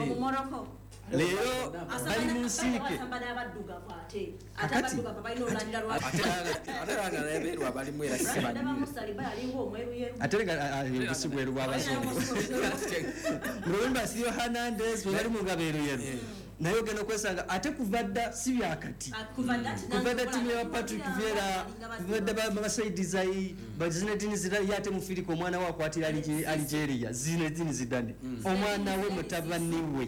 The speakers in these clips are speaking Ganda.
Omumoroko. Leero bali mu nsiike. Asamba n'abaddugavu ate ate Kakati- abaddugavu balina olulandira lwa Ate era nga nabeeru abalimu era si ndaba banyu. Musaliba yalinga omweruyeru. Ate nga obusi bweru bw'abazungu. Remember Theo Hernandez bwe bali mu ngabo eruyeru, naye ogenda okwesanga ate kuva dda, si byakati. Kuva dda Kuva dda ttiimu ya Patrick Vieira, kuva dda basaidizai ba Zinedine Zidane, ye ate mufirika, omwana we akwatira Algeria. Zinedine Zidane, omwana we, mutabani we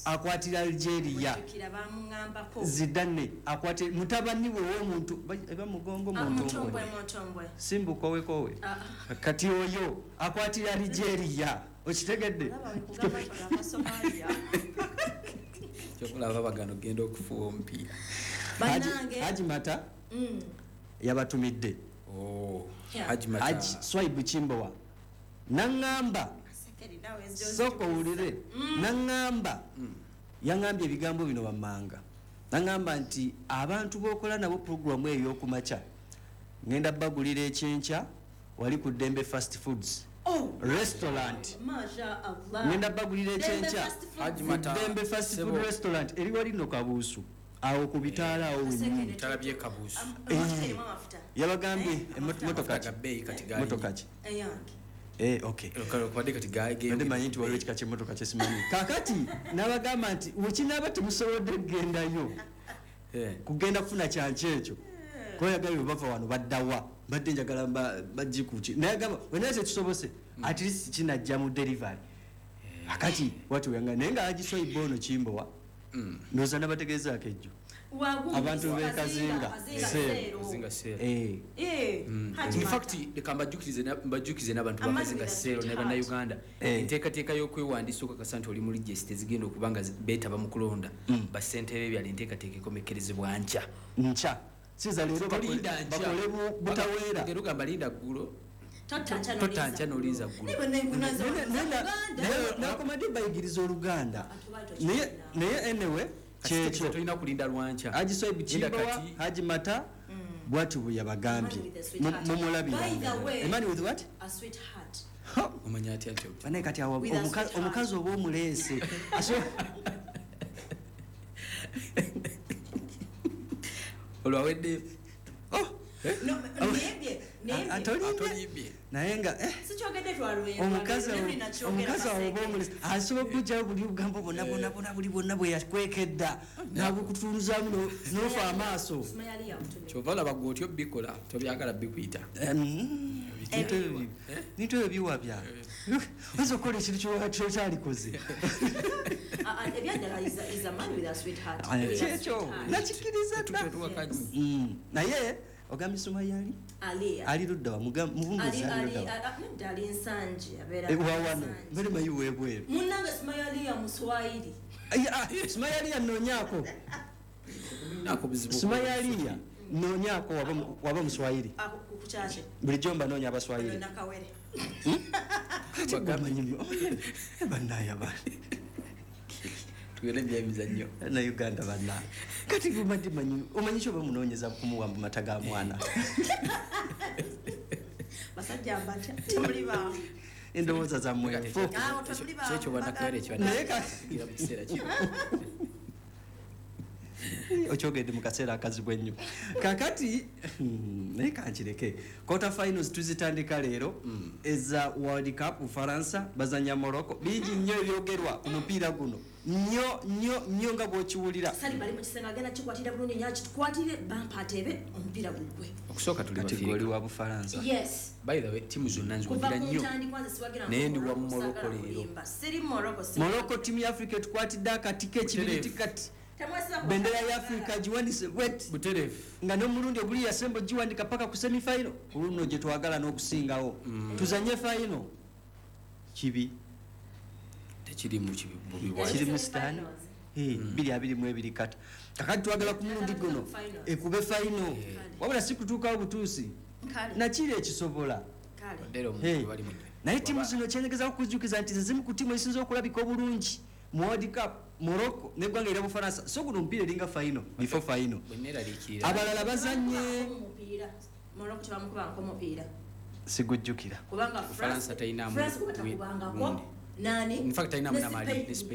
akwatira Algeria. Kira bamuŋŋambako. Zidane akwatira mutabani we w'omuntu eba mugongo Mutombwe. muntombwe. Mutombwe. Simbukowekowe. Ah. Kati oyo akwatira Algeria, okitegedde? Olaba wekugamba Somalia. Kyokulaba bagano genda okufuwa omupiira. Bannange. Haji Mata yabatumidde. Oh, Yeah. Haji Mata. Haji Swaibu Kimbowa naŋŋamba, sooka owulire, naŋŋamba, yaŋŋambye ebigambo bino wammanga. Naŋŋamba nti abantu b'okola nabo puroguramu eyo ey'okumakya, ŋŋenda bagulira ekyenkya wali ku Ddembe Fast Foods Oh, Restaurant. Masha Allah. Ŋŋenda bagulira ekyenkya Fast Food. Haji ku Mata, Ddembe Fast Sebo. Food Restaurant eri wali nno Kabuusu awo ku bitaala awo wennyini. Bitala by'e Kabuusu. Emotoka erimu amafuta. Yabagambye Eh, emotoka Amafuta ki? ga bbeeyi kati galinye. Motoka ki? Eyange. Eh, okay. Kubadde kati Badde manyi nti waliwo ekika kyemmotoka kyesimanyi. Kakati n'abagamba nti wekinaaba temusobodde kugendayo kugenda kufuna kyanki ekyo, kuba yagambye bwe bava wano baddawa, mbadde njagala bajikuki, naye agamba wenaye tetusobose, at least kinajja mu delivery. Akati wati weyanga naye nga agiswaiba ono Kimbowa, ndowooza nabategeezaako ejjo. Wagundi, Abantu b'e Kazinga, Kazinga, Seero. Seero. Kazinga Seero. Eh, Eh, Haji In Mata. fact, leka mbajjukize n'abantu Amani bakazinga with a Seero ne sweetheart. Bannayuganda, enteekateeka y'okwewandiisa okakasa nti oli mu register ezigenda okuba nga beetaba mu kulonda bassentebe b'ebyalo, enteekateeka ekomekerezebwa nkya. Nkya siza leero Tolinda nkya. bakole butaweera. Ogenda ogamba linda ggulo. Totta nkya. Totta nkya n'olinza ggulo. Naye bwe nkunaza Uganda. Nakomadde bayigiriza Oluganda. Abantu baali Naye anyway, kyekyo. Tolina kulinda lwankya. Haji Swaibu Linda Kimbowa, kati. Haji Mata bwati bwe yabagambye. Man with a sweetheart. Mumulabira. By the way- A man with what? A sweetheart. Omanya atya nti Banaye kati awo With a sweetheart. omukazi oba omuleese Olwawedde. Oh, No, nimbye, nimbye. atolimbye. Atolimbye. Naye nga Sikyogedde twalwe. omukazi awo oba omuleese asobola okugjayo buli obugambo bwonna bwonna bwonna buli bwonna bwe yakwekedda nabukutunuzaamu n'ofa amaaso. Kyova olaba gwe otyo bikola tobyagala bikuyita. Bintu ebyo biwabya, oyinza okukola ekintu kyokyalikoze. Ebyaddala is a man with a sweetheart. Kyekyo nakikkiriza dda. Tuwakanywa. Naye ogambye Sumaya ali Aliya. Ali ludda wa? Mubumbuzi ali ludda wa? Nedda, ali Nsangi, abeera Eh, wawano Nsangi. mbere mayi webweru. Munnange Sumaya Aliya Muswahili. Sumaya Aliya noonyaako. Nako buzibu. Sumaya Aliya noonyaako waba Muswahili. Ako ku kyaki? Bulijjo mba noonya Abaswahili. Nakawere. Kati gwe omanyi bannaye abantu. Tugende byemizannyo. Na Uganda bannaye, kati gwe manyi omanyi kyoba munoonyeza kumuwa mu mata ga mwana. Basajja mbatya, temuli baawo. Endowooza zammwe nfu. Awo temuli baawo. Kyekyo bannakawere Naye ekibadde mu kiseera kino. Okyogedde mu kaseera akazibu ennyo. Kakati naye kankireke, quarter finals tuzitandika leero eza World Cup. Ufaransa bazanya Morocco. Bingi nnyo ebyogerwa ku mupiira guno, nnyo nnyo nnyo nga bw'okiwulira. Sali bali mu kisenge, agenda kikwatira bulungi nnyo, akikwatire bampa atebe omupiira gugwe. Okusooka tuli Kati Bafirika. gwe oli wa Bufaransa? Yes. By the way, tiimu zonna Kuva nziwagira ku nnyo. ntandikwa nze siwagira Naye ndi wa Morocco, Morocco saagala leero. kulimba. Siri Morocco, Morocco, tiimu ya Africa etukwatidde akati k'ekibiriti kati. Temwesiba ku- Bendera ya Africa giwandise bweti. Butereevu. Nga n'omulundi oguli yasemba giwandika paka ku semifinal. Ku luno gye twagala n'okusingawo tuzanye final kibi. Tekirimu kibi bubi Yali bwa Kiri mu semi sitaani. finals. Eh, 2022 kata kakati twagala ku mulundi guno Final. ekube final, wabula si kutuukawo butuusi. Kale, Nakiri ekisobola. kale. Leero Hey. omuntu bali mu Naye ttiimu zino kyengezaako kujjukiza nti ze zimu ku ttiimu ezisinza okulabika obulungi mu World Cup, Morocco neggwanga erya Bufaransa. So guno omupiira eringa final before final. Bwe neeraliikirira. Abalala bazanye. Bamukuba omupiira. Morocco tebamukubangako omupiira. Sigujjukira. Kubanga Bufaransa teyinaamu France kuba takubangako. gundi. Nani? In fact, tayinaamu Ne n'amaanyi, Spain. ne Spain.